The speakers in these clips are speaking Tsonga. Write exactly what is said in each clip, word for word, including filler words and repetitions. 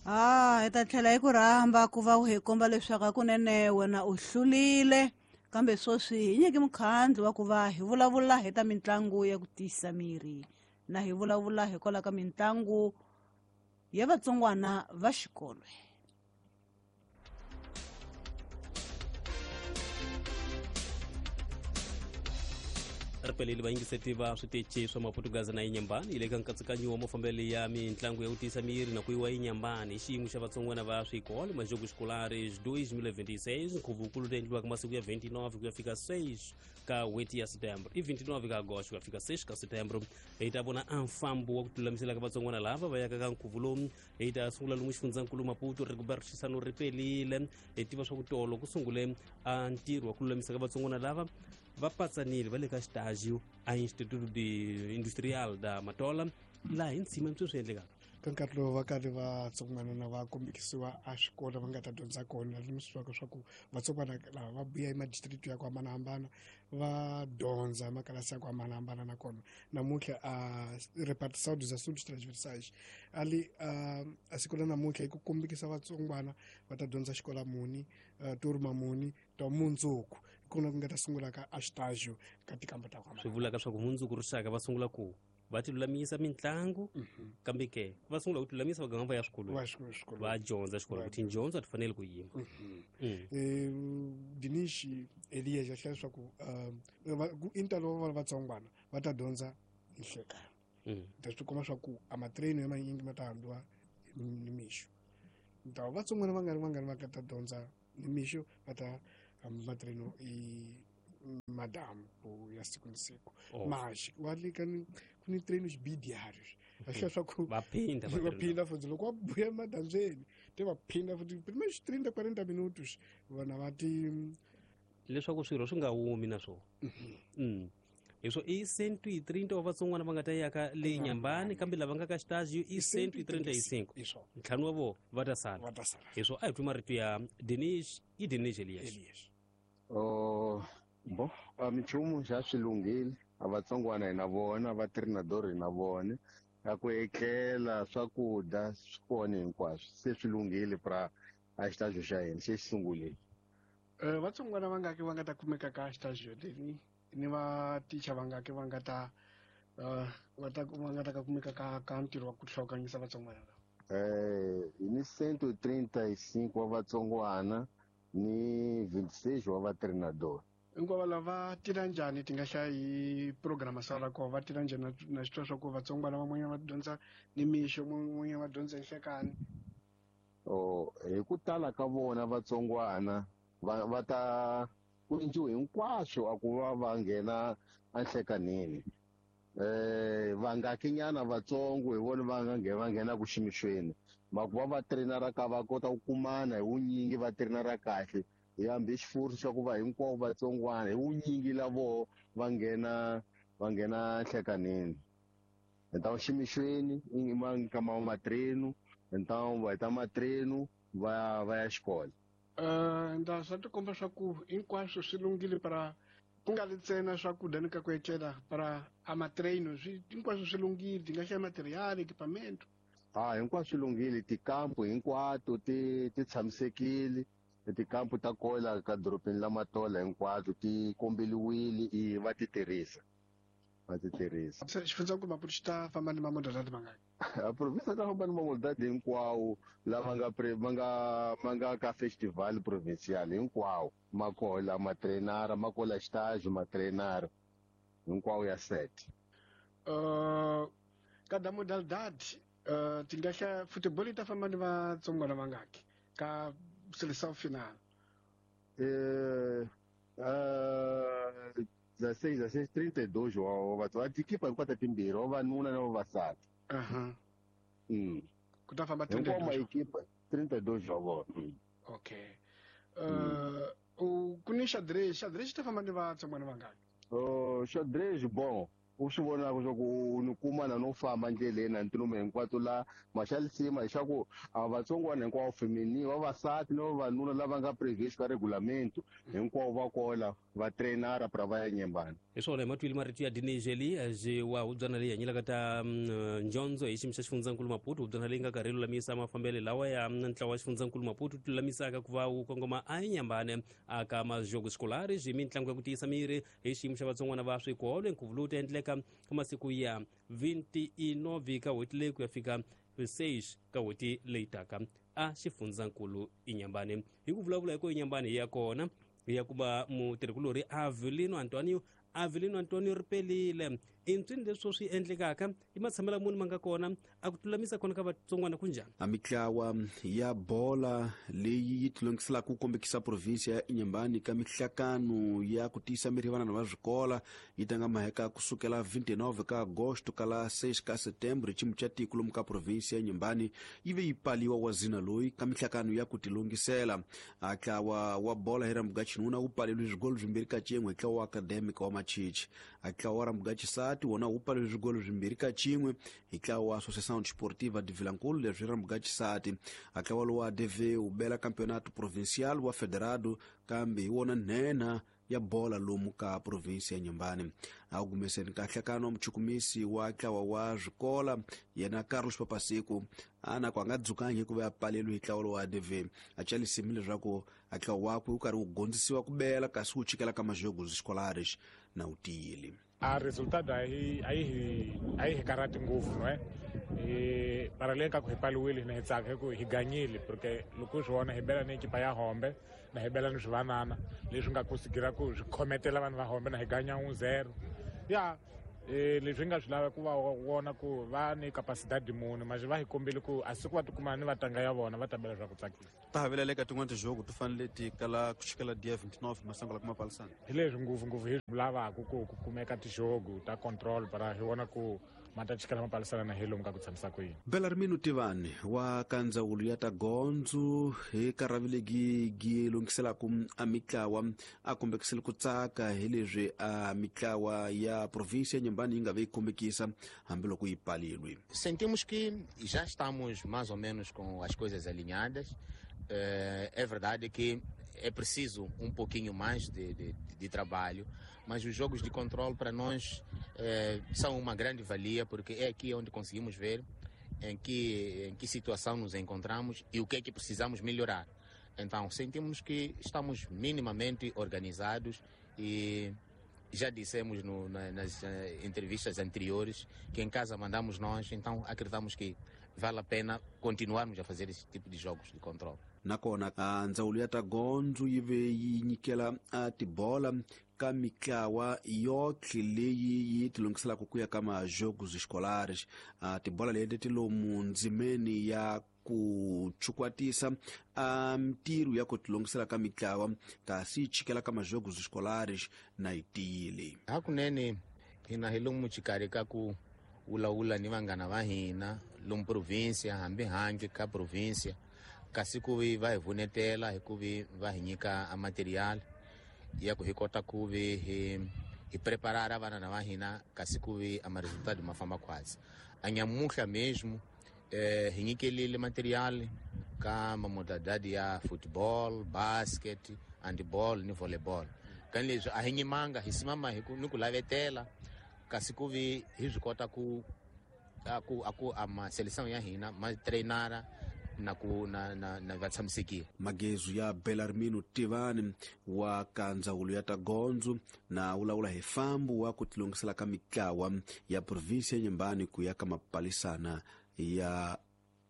Ah, hi ta tlhela hi ku rhamba ku va u hi komba leswaku hakunene wena u hlulile kambe sweswi hi nyike mukhandlu wa ku va hi vulavula hi ta mitlangu ya ku tiyisa miri na hi vulavula hikwalaho ka mitlangu ya vatsongwana va xikolo. Ripeleli vayingiseti va switichi swa Maputugazi na Inhambane yi le ka nkatsakanyo wa mafambelo ya mitlangu ya ku tiyisa miri na ku yiwa Inhambane hi xiyimo xa vatsongwana va swikolo Majogos Escolares dois mil e vinte e seis nkhuvo-nkulu ta endliwaka masiku ya vinte e nove ku ya fika seis ka n'hweti ya setembro i vinte e nove ka agosto ku ya fika seis ka setembro. Hi ta vona a mfambo wa ku tilulamisela ka vatsongwana lava va yaka ka nkhuvo lowu. Hi ta sungula lomu xifundzankulu Maputo Rigobert Chissano Ripelile. Hi tiva swa ku tolo ku sungule a ntirho wa ku lulamisa ka vatsongwana lava va patsanile va le ka xitagio a Instituto de Industrial da Matola laha hi ntshima sweswi swi endlekaka. Ka nkarhi lowu va karhi vatsongwana na va kombekisiwa a xikolo va nga ta dyondza kona lemiswaka swa ku vatsongwana lava va vuya emadistrict ya ku hambanahambana va dyondza makalasi ya ku hambanahambana nakona namuntlha a repartição dos assuntos transversais ali a siku la namuntlha i ku kombekisa vatsongwana va ta dyondza xikola muni turma muni ta mundzuku kona ku nga ta sungula ka a xitagio ka tikamba ta ku swi vulaka swa ku mundzuku rixaka va sungula ku va ti lulamisa mitlangu kambe ke va sungula ku ti lulamisa va ganga va ya swikolweni va dyondza xikolo ku tindyondzo a ti fanele ku yima. Dinish Elias ya hlaya leswaku i ntalo wa vatsongwana va ta dyondza hi nhlekani ta swi kuma swa ku a matrain ya manyingi ma ta hambiwa nimixo ntawo vatsongwana va nga ri vangani va nga ta dyondza nimixo va ta hamba matrain i madamu ya siku ni siku maxi wa le ka ni ku ni treinos bidiários acho só que va phinda va phinda futhi loko va buya madandzeni te va phinda futhi primeiros trinta quarenta minutos vona va ti leswaku swirho swi nga humi na swona. Mm hiswo i cento e trinta wa vatsongwana va nga ta yaka le Inhambane kambe lava nga ka xitagio i cento e trinta e cinco ntlhanu wa vona va ta sala. Hiswo a hi twi marito ya Dinish i Dinish Elias. Oh bo a minchumu xa swi lunghile a vatsongwana hi na vona va treinador hi na vona a ku etlela swakudya swi kona hinkwaswo se swi lunghile pra a xitagio xa hina xi sungulile. Eh vatsongwana va nga ke va nga ta kumeka ka xitagio leni ni va ticha va nga ke va nga ta va ta va nga ta ka kumeka ka ka ntirho wa ku hlawukanyisa vatsongwana lava. Eh ni cento e trinta e cinco wa vatsongwana ni vinte e seis wa va treinador. Hinkwavo lava tirha njhani ti nga hlaya hi programação la kona va tirha njhani na xitwa swa ku vatsongwana van'wanyana va dyondza nimixo van'wanyana va dyondza hi nhlekani. Oh hi ku tala ka vona vatsongwana va va ta ku endliwe hinkwaswo a ku va va nghena enhlekanini eh va nga kinyana vatsongo hi vona va nga nghena va nghena ku ximixweni ma ku va va trainera ka va kota ku kumana hi vunyingi va trainera kahle hi hambi xifurhu xa ku va hinkwavo vatsongwana hi vunyingi lavo va nghena va nghena nhlekanini então ximixweni i ma ka ma matrenu então va heta matrenu va va ya xikolo. Eh nda swa tikomba swa ku hinkwaswo swi lunghile para ku nga ri ntsena swakudya ni ka ku etlela para a matrain swi hinkwaswo swi lunghile ti nga hlaya material equipamento. Ah hinkwaswo swi lunghile tikampu hinkwato ti ti tshamisekile tikampu ta kola ka dorobeni la Matola hinkwato ti kombeliwile i va ti tirhisa va ti tirhisa. Xifundzankulu Maputo xi ta famba ni mamodalidade mangani? A province ta famba ni mamodalidade hinkwawo lama nga ma nga ma nga ka festival provincial hinkwawo ma kola ma trainara ma kola xitagio ma trainara hinkwawo ya set. Uh, kada modalidade uh, ti nga hlaya football yi ta famba ni vatsongwana vangaki ka seleção final? Eh, uh, dezesseis, dezesseis, trinta e dois wa va tikipa hinkwato timbirhi vavanuna na vavasati. Aham. Mm. Ku ta famba trinta e Hinkwawo dois. maekipa trinta e dois wa vona. Okay. Uh, u ku ni xadrez, xadrez xi ta famba ni vatsongwana vangaki? Oh, xadrez bon. U swi vonaka swa ku ni kuma na no famba ndleleni na ntilume hinkwato la maxalisima leswaku a vatsongwana hinkwavo femini vavasati na vavanuna lava nga previous ka regulamento hinkwavo va kola va trainara pra va ya Nyembani. Hi swona hi matwile marito ya Dinejeli je wa hubyana leyi hanyelaka ta njondzo hi xiyimo xa xifundzankulu Maputo, hubyana leyi nga karhi lulamisa mafambelo lawa ya ntlawa wa xifundzankulu Maputo ti lulamisaka ku va wu kongoma a Nyembane aka majogo scolares hi mitlangu ya ku tiyisa miri hi xiyimo xa vatsongwana va swikolo. Nkhuvo lowu ta endleka ka masiku ya vinte e nove ka n'hweti leyi ku ya fika seis ka n'hweti leyi taka a xifundzankulu Inhambane. Hi ku vulavula hi ku Inhambane hi ya kona hi ya kuma mutirhikulori Avelino Antonio. Avelino Antonio Ripelile, i ntswini leswi swi endlekaka i matshamelo muni ma nga kona a ku lulamisa kona ka vatsongwana ku njhani? A mitlawa ya bola leyi yi tilongiselaka ku kombekisa provinsia ya Inhambane ka mihlakano ya ku tiyisa miri vanana va swikola yi tanga maheka kusukela vinte e nove ka agosto kala seis ka setembro. Xiyimo xa tiko lomu ka provinsia ya Inhambane yi ve yi paliwa wa zina loyi ka mihlakano ya ku tilongisela. A ntlawa wa bola hi rambuga xinuna wu paleliwe swigolo swimbirhi ka cin'we hi ntlawa wa Academic wa Machichi. A ntlawa wa rambuga xisati wona wu paleliwe swigolo swimbirhi ka cin'we hi ntlawa wa Associação Desportiva de Vilankulu, leswi rambuga xisati. A ntlawa lowu wa A D V wu bela campeonato provincial wa federado kambe hi wona nhenha ya bola lomu ka provinsi ya Inhambane. A wu gumeseni ka nhlekano muchukumisi wa ntlawa wa swikola yena Carlos Papasiku a na ku a nga dzukangi hikuva ya paleliwe hi ntlawa lowa A D V. A calisimi leswaku a ntlawa wakwe wu karhi wu gondzisiwa ku bela kasi wu chikela ka majogos escolares na wu tiyile. A resultado a yi a yi hi a yi hi karhati ngopfu no e mara leyi ka ku hi paliwile hina hi tsaka hi ku hi ganyile, porque loko u swi vona hi bela ni ekipa ya Hombe na hi bela ni swivanana leswi nga kusigira ku swi khometela vanhu va Hombe na hi ganya un zero ya e leswi hi nga swi lava ku va vona ku va ni capacidade muni mas va hi kombile ku a siku va tikuma ni vatanga ya vona va ta bela swa ku tsakisa. Ta havelela eka tin'wana tijogo ti fanele ti kala ku chikela dia vinte e nove masango la kuma palisana. Hi leswi ngopfungopfu hi swi lavaka ku ku kumeka tijogo ta control para hi vona ku ma ta chikela mapalisana na hi lomu ka ku tshamisa ku yini. Belarmino Tivani wa ka ndzawulo ya ta gondzo hi karavilegi gi lunghiselaka a mitlawa a kombekisile ku tsaka hi leswi a mitlawa ya provinsia ya Inhambane yi nga ve yi kombekisa hambiloko yi palilwe. Sentimos que já estamos mais ou menos com as coisas alinhadas. Eh, É verdade que é preciso um pouquinho mais de, de, de trabalho, mas os jogos de controle para nós eh, são uma grande valia, porque é aqui onde conseguimos ver em que, em que situação nos encontramos e o que é que precisamos melhorar. Então, sentimos que estamos minimamente organizados e já dissemos no, na, nas eh, entrevistas anteriores que em casa mandamos nós, então acreditamos que vale a pena continuarmos a fazer esse tipo de jogos de controle. Nakona a ndzawulo ya ta gondzo yi ve yi nyikela a tibola ka mitlawa yotlhe leyi yi tilunghiselaka ku ya ka majogos escolares. A tibola leti ti lomu ndzimeni ya ku chukwatisa a mintirho ya ku tilunghisela ka mitlawa kasi yi chikela ka majogos escolares na yi tiyile. Hakunene hina hi lomu xikarhi ka ku vulavula ni vanghana va hina lomu provinsia hambi handle ka provinsia, kasi ku vi va hi vunetela hi ku vi va hi nyika a material ya ku hi kota ku vi hi hi preparara vana va hina, kasi ku vi a maresultado ma famba khwatsi. A nyamuhla mesmo eh, hi nyikelile material ka mamodalidade ya football, basket, handball ni volleyball. Kani leswi a hi nyimanga hi simama hi ku ni ku lavetela, kasi ku vi hi swi kota ku a ku a ku a ma seleção ya hina ma treinara na ku na na, na va tshamisekile. Magezu ya Belarmino Tivani wa ka ndzawulo ya ta gondzo na vulavula hi fambo wa ku tilunghisela ka mitlawa ya provinsia ya Inhambane ku ya ka mapalisana ya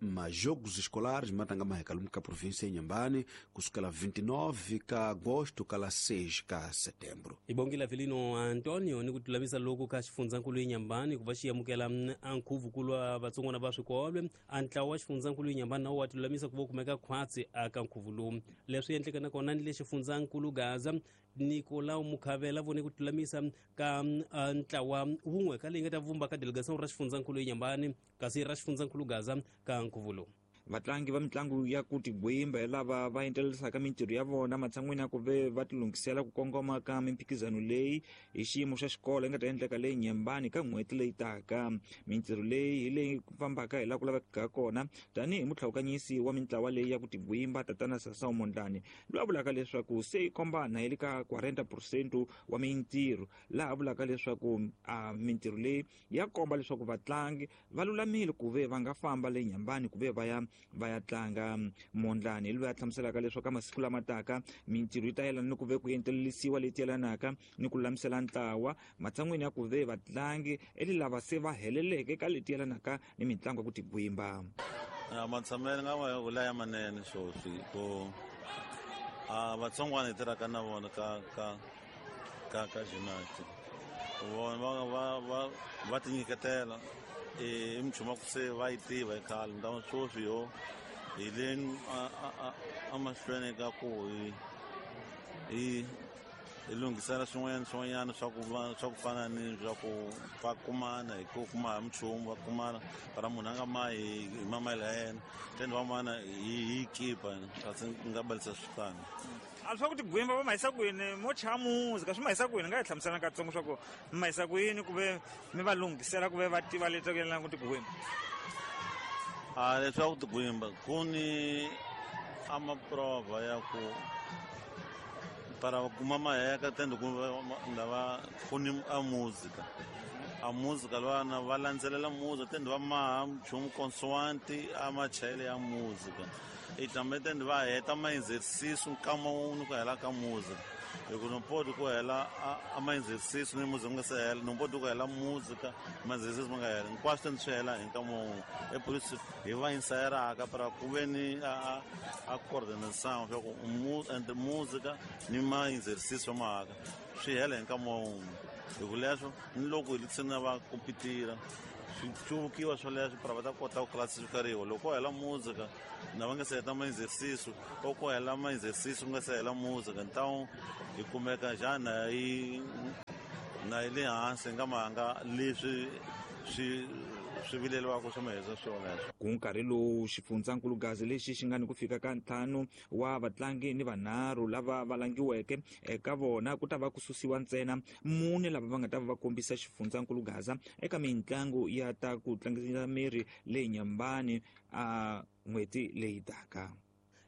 majogos escolares matanga maheka lomu ka provinsia ya Inhambane kusukela vinte e nove ka agosto kala seis ka setembro. Hi bongile Avelino Antonio ni ku lulamisa loku ka xifundzankulu Inhambane ku va xi amukela a nkhuvunkulu wa vatsongwana va swikolo. A ntlawa wa xifundzankulu Inhambane na wo wa tilulamisa ku va kumeka khwatsi aka nkhuvu lowu. Leswi endleka nakona ni le xifundzankulu Gaza, Nicolau Mukhavela vone ku lulamisa ka ntlawa wun'we ka leyi nga ta vumba ka delegation ra xifundzankulu Inhambane kasi ra xifundzankulu Gaza ka nkhuvu lowu. Vatlangi va mitlangu ya ku tigwimba hi lava va entelisaka mintirho ya vona matshan'wini ya ku ve va tilunghisela ku kongoma ka mimphikizano leyi hi xiyimo xa xikolo yi nga ta endleka leyi Nyembani ka n'hweti leyi taka. Mintirho leyi hi leyi fambaka hi laha ku lavekaka kona tanihi mutlhawukanyisi wa mintlawa leyi ya ku tigwimba tatana Sasao Mondlane, loyi a vulaka leswaku se yi kombana hi le ka forty percent wa mintirho, laha a vulaka leswaku a mintirho leyi ya komba leswaku vatlangi va lulamile ku ve va nga famba le Nyembani ku ve va ya va ya tlanga. Mondlane loyi a hlamuselaka leswaku ka masiku lama taka mintirho yi ta yelana ni ku ve ku entelelisiwa leti yelanaka ni ku lulamisela ntlawa matshan'wini ya ku ve vatlangi eli lava se va heleleke ka leti yelanaka ni mitlangu ya ku tigwimba. Matshamelo nga ma vula ya manene sweswi ku a vatsongwana hi tirhaka na vona ka ka ka ka gymnastic vona va va va va tinyiketela i minchumu ku se va yi tiva hi khale nta sweswi yo hi le emahlweni ka ku hi hi hi lunghisela swin'wanyana swin'wanyana swa ku va swa ku fana ni swa ku va kumana hi ku kuma hi minchumu va kumana para munhu a nga mahi hi mamayela ya yena then van'wana hi hi kipa kasi nga balisa swifana. A swa ku tigwimba va mahisa kwini mo chaya muzika swi mahisa kwini nga hi hlamusela katsongo swa ku mi mahisa kwini ku ve mi va lunghisela ku ve va tiva leswaku yelana ku tigwimba? A leswaku tigwimba ku ni a maprova ya ku para kuma maheka tende ku lava ku ni a muzika a muzika lwana va landzelela muzika tende va maha nchumu consoante a machayele ya muzika i tlambe tende va heta ma-exercice nkama wun'we ku hela ka muzika hi ku no poti ku hela a ma-exercice ni muzika nga se hela no poti ku hela muzika ma-exercice ma nga hela hinkwaswo tende swi hela hi nkama wun'we epolisi hi va insayeraka para ku ve ni a a coordination swa ku entre muzika ni ma-exercice va mahaka swi hela hi nkama wun'we hi ku leswo ni loko hi tsena va kompitira swi cuvukiwa swoleswo para va ta kota ku classifikariwa loko ko hela muzika na va nga se heta ma-exercice o ko hela ma-exercice ku nga se hela muzika ntawu hi kumeka njhani na yi na yi le hansi nga mahanga leswi swi swi vileliwaka swa maheza swoleswo. Ku nkarhi lowu xifundzankulugazi lexi xi nga ni ku fika ka ntlhanu wa vatlangi ni vanharhu lava va langiweke eka vona ku ta va ku susiwa ntsena mune lava va nga ta va va kombisa xifundzankulugaza eka mitlangu ya ta ku tlangisa miri leyi Nyembani a n'hweti leyi taka.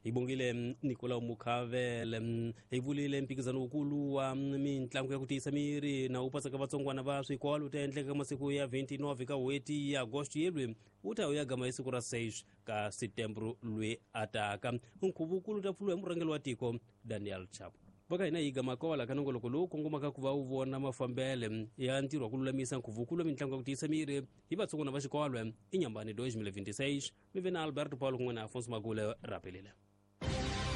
Hi bongile Nicolau Mukhavele. Hi vulile mphikizano wukulu wa mitlangu ya ku tiyisa miri na wu pasaka vatsongwana va swikolo ta endleka masiku ya twenty-nine ka n'hweti ya Agosto yelwi wu ta ya gama hi siku ra six ka Setembro lwe ataka. Nkhuvo wukulu ta pfuriwa hi murhangeri wa tiko Daniel Chapo. Va ka hina hi gama kwala ka nongoloko lowu kongomaka ku va wu vona mafambele ya ntirho wa ku lulamisa nkhuvo wukulu wa mitlangu ya ku tiyisa miri hi vatsongwana va xikolo i Nyambani twenty twenty-six. Mi ve na Alberto Paulo kun'we na Afonso Magule rapelile.